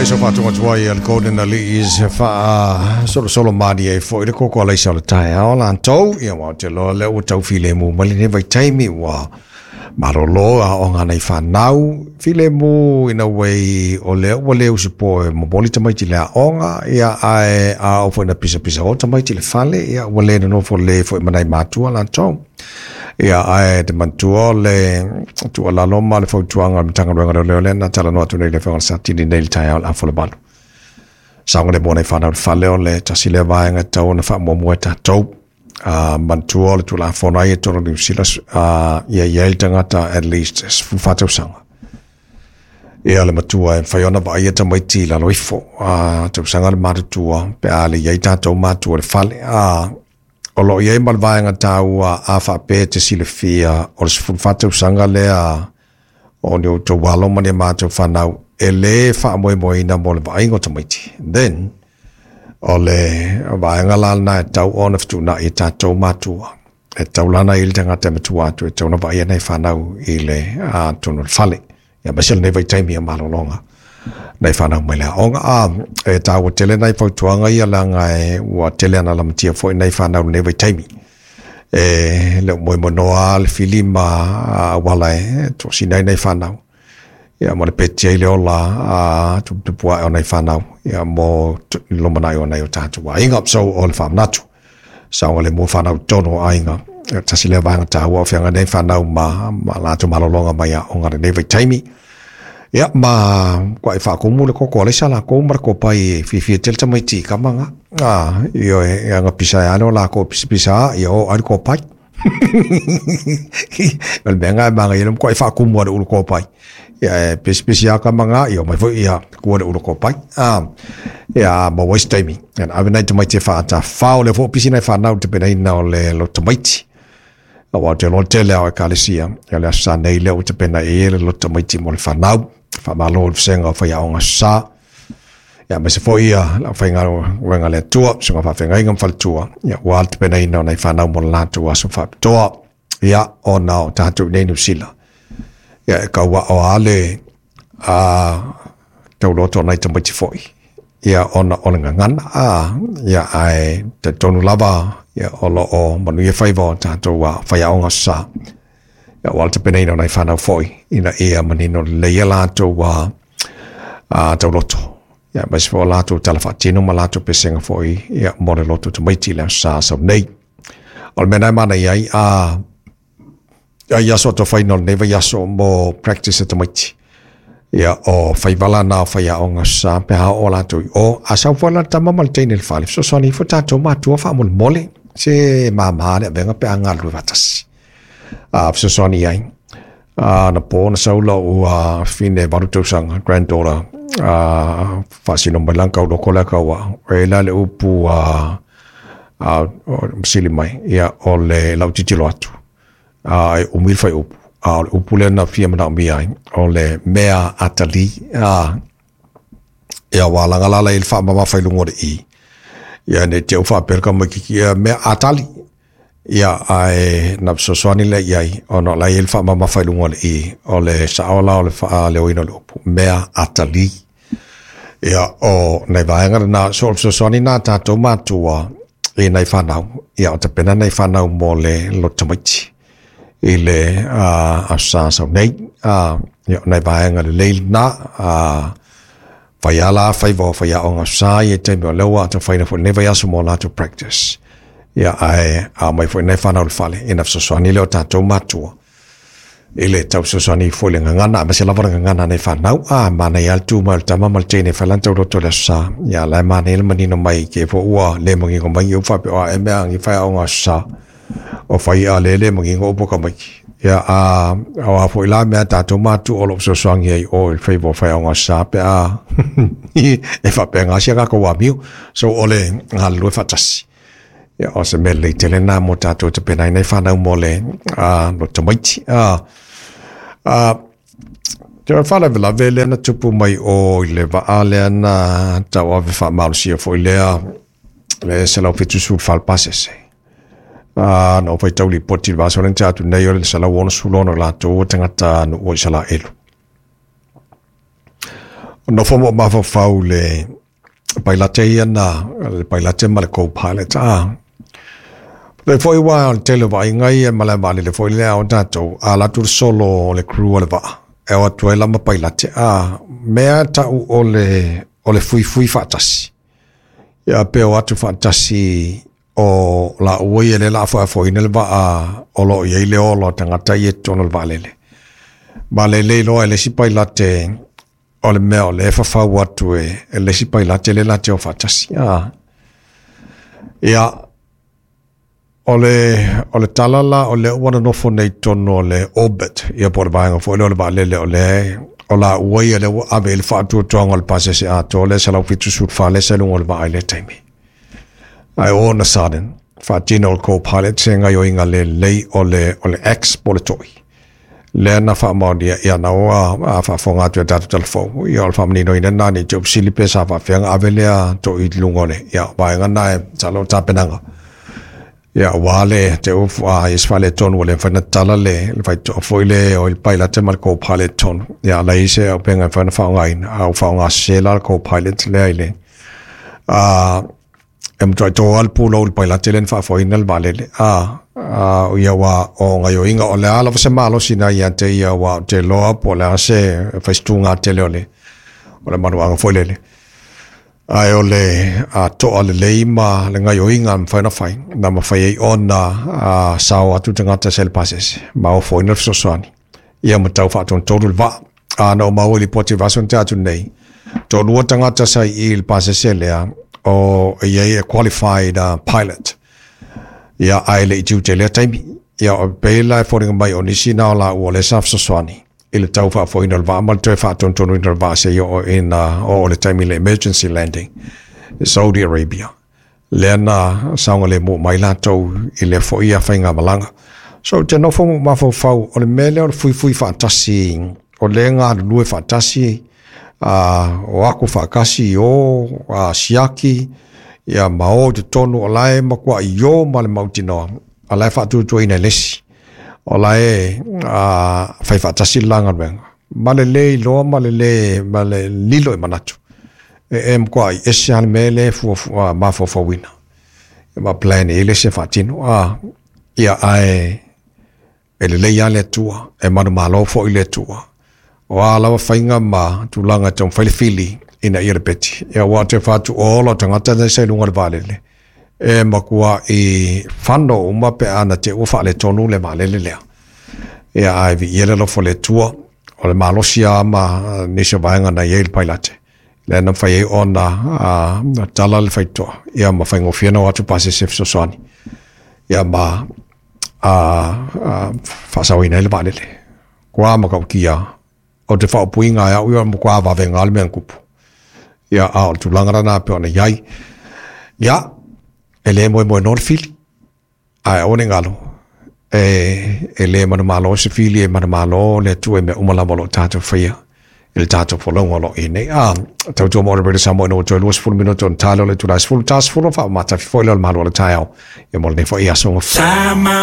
Ia so faatoga atu ai a le Golden Alii se faa solosolo mani ai foi le koko alaisa o le taeao latou. Ia ua te loa lea ua tau filemu mai lenei vaitaimi ua malolo aoga nai fanau filemu ina way o lea ua le usipo e momoli tamaiti le aoga, ia ae a oo foi ina pisapisa o tamaiti le fale, ia ua le nonofo le foi ma nai matua latou. Ia ae te manatua o le tuualalo ma le fautuaga a le Matagaluega o Leoleo lea na talanoa atu nei le Afioga i le Satini nei i le taeao o le afolevalu. Saogalemu o nai fanau i le fale o le tasi lea vaega e tatau ona faamuamua e tatou. Manatua o le Tulafono ai e tolu Niu Sila, ia i ai le tagata at least 14 tausaga. Ia le matua e mafai ona vaaia tamaiti i lalo ifo tausaga le matutua pe a le i ai tatou matua i le fale. O lo o i ai ma le vaega taua a faapea e te silafia o le 14 tausaga lea o ni outou alo ma ni a matou fanau e le faamoemoeina mo le vaaiga o tamaiti. Then, o le vaega la lena e tau ona fetuunai e tatou matua. E tau lana i le tagata e matua atu e tau na vaaia nai fanau i le tonu o le fale. Ia aemaise lenei vaitaimi o malologa nai fanau mai le aoga. E taua tele nai fautuaga ia leaga e ua tele ana lamatia foi nai fanau lenei vaitaimi. E le o moemoenoa le fili ma auala e toasina ai nai fanau. Ia ma le peti ai le ola tuputupu ae o nai fanau. Ia mo lumanai o nai o tatou aiga. So o le faamanatu. Saogalemu fanau tonu o aiga. Tasi lea vaega taua o feagai nei fanau ma latou malologa mai aoga lenei vaitaimi. Ia ma kuai faakumu le koko alaisa lakou ma le kopai e fiafia tele tamaiti i kama nga. Ioe, ia nga pisa e ale o lakou pisapisa ia o ai le kopai. O le mea nga e manaia le kuai faakumu a le ulu kopai. Ia e pisipisi a kama nga, ia mai foi ia kua le ulu kopai. Ia ma waste taimi. Ia ave nai tamaiti e faatafao le fo pisi nai fanau te penaina o le lo tamaiti. Aua te loa tele ao ekalesia. Ia le aso sa nei lea ua tapena i e le loto tamaiti mo le fanau. Faamalo i le vasega o faiaoga sa. Ia aemaise foi ia le aufaigaluega a le Atua, susuga faafeagaiga ma faletua, ia ua le tapenaina o nai fanau mo le latou aso faapitoa. Ia ona o tatou i nei Niu Sila. Ia e kauao lava le tauloto o nai tamaiti foi. Ia ona o le gagana, ia ae talitonu lava ia o lo o manuia faiva o tatou faiaoga sa. Ia ua le tapenaina o nai fanau foi ina ia manino lelei ia latou tauloto. Ia aemaise foi o latou tala faatino ma latou pesega foi ia mo le loto tamaiti i le aso sa sau nei. O le mea na e manaia ai ai aso atofaina o lenei vaiaso mo practice e tamaiti. Ia o faiva la na o faiaoga sa pe a oo latou i o. A sau foi la le tama ma le teine i le fale, fesoasoani ifo tatou matua faamolemole se mama le avega pe a galulue faatasi. Fesoasoani ai. Na po na sau lau fine 8 tausaga, granddaughter, faasino mai lan kau loko lea kau au. E la le upu masili mai, ia o le lau titilo atu. E umi le whaiupu. O le upu lea na fia manaomia ai, o le mea atali. Ia wa langa lala i le whaamamafa i lunga o le i. Ia ne te u whaapea ka mai kiki, ia mea atali. Ia ae na fesoasoani lea i ai, ona o la i le whaamamafa i lunga o le i, o le sao la o le whaaleoina o le upu, mea atali. Ia o nai vaega na, so o le fesoasoani nā tātou mātua i nai whanau, ia o tapena nai whanau mo le loto tamaiti i le aso sa sau nei. Ia o nai vaega lelei na, whaiala, whaiva o whaiaonga sa i e taimi o leua, ata whaina foi nei vaiaso mo latou practice. Ia ae a mai foi nei whanau le fale, ina fesoasoani lea o tātou mātua. I le tau fesoasoani foi le gagana, aemaise lava le gagana nei whanau, manaia le tū mai o le tama ma le teine whai lan tauloto le aso sa. Ia la e manaia le manino mai ke fo ua le mangingo mai i u whape o a e mea angi whaiaonga aso sa. O whai a le le mangingo upo ka mai. Ia o a foi la mea tātou mātua o lo fesoasoani ai o i whaiva o whaiaonga aso sa pe a e whapea ngā sia kako wā miu. So o le galulue faatasi. Ia o se mea lelei tele nā mo tātou te pena i nei whanau mo le no tamaiti. Te whalavelave lea na tupu mai o i le vaa lea na tauave whaamalosia foi lea le 174 pasese. Na o whaitau lipoti le vasa o le atu nei o le 166 latou o tangata no o i Salaelu. Nofo ma mafaufau le pailate ia na le pailate ma le co-pilot a. Le foi wa o le tele o vaaiga ia ma le vaalele foi lea o tatou a alu atu le solo o le crew o le vaa e o atu ai la ma pailate a mea tau o le fuifui faatasi. Ia pe o atu faatasi o laua ia lea o le a afoafoina le vaa o lo o i ai le ola o tagata ia i totonu o le vaalele. Ma lelei loa e le isi pailate o le mea o lea e fafau atu e le isi pailate lea latou te o faatasi. Ia, o le tala la o lea ua nonofo nei i totonu o le orbit, ia po o le vaega foi lea o le vaalele o lea o laua ia lea ua ave i ai le faatuatuaga o le pasese atoa lea 174 lea sa i luga o le vaa i lea taimi. Ae all of a sudden, faatino e le co-pilot se gaoioiga lelei o le axe po o le to'i. Lea na faamaonia, ia na ua faafofoga atu i a tatou talafou, ia o le faamaninoina lena ne i te i ua fesili pe sa faapefea ona ave lea to'i i luga o le, ia vaega lena e masalo o le tapenaga. Ia aua le te ua i se faaletonu ua le mafai ona tatala le faitotoa foi lea o le pailate ma le co-pilot i totonu. Ia a leai se auupega e mafai ona faaaogaina, a ua faaaoga sese la le co-pilot lea i le e matuai to lava le pulou i le pailate lea na faafoeina le vaalele. Ia aua o gaoioiga, o le a lava se malosi na ia te ia, aua ou te iloa po o le a se fai se tuga tele o le manuaga foi lele. Ae o le toa lelei ma le gaoioiga e mafai ona fai, na mafai ai ona sao atu tagata sa i le pasese, ma ofoina le fesoasoani, ia ma tau faatonutonu le vaa. A na ou maua i lipoti i le vaiaso na tea atu nei, toalua tagata sa i i le pasese lea, o e i ai e qualified pilot, ia ae le i tiute i lea taimi. Ia o pei la e foliga mai o nisi na o laua o lea sa fesoasoani i le tau faafoeina o le vaa ma le toe faatonutonuina o le vaa seia oo ina oo le taimi i le emergency landing i Saudi Arabia. Lea na saogalemu mai latou i lea foi faigamalaga. So ou te nofo ma mafaufau, o le mea lea o le fuifui faatasi, o lea e galulue faatasi, o aku faakasi i o, siaki, ia ma o i totonu, o la e matuai o ma le mautinoa, o la e faatuatuaina e le isi, o la e fai faatasi le la galuega, ma le le iloa ma le le, ma le lilo i manatu, e matuai ese lava le mea lea e mafaufauina, ma plan i ai le isi e faatino. Ia ae e lelei lava le Atua, e manumalo foi le Atua. O a lava faiga ma tulaga e taumafai le fili ina ia lepeti. Ia aua ou te fai atu o ola o tagata nei sa i luga o le vaalele, e matuai fano uma pe a na te i ua faaletonu le vaalele lea. Ia ae viia le alofa o le Atua, o le malosi lava ma nisi o vaega na i ai le pailate, lea na mafai ai ona tala le faitotoa, ia ma faigofie ona o atu pasese fesoasoani, ia ma faasaoina ai le vaalele. Kua matautia, o te faaupuina e au ia o le matua vavega le mea na tupu. Ia, a o le tulaga lena e pei ona i ai. Ia, e le moemoenoa le fili, ae aua ne i galo, e le manumalo se fili, e manumalo le Atua i mea uma lava o lo o tatou faia i le tatou folauga o lo o i ai nei. A, tautua mo le Radio Samoa ina ua toe 20 minute ona ta lea o le itula e 10, ta 10 ona faamatafi foi lea o le malu o le taeao. Ia mo lenei foi aso.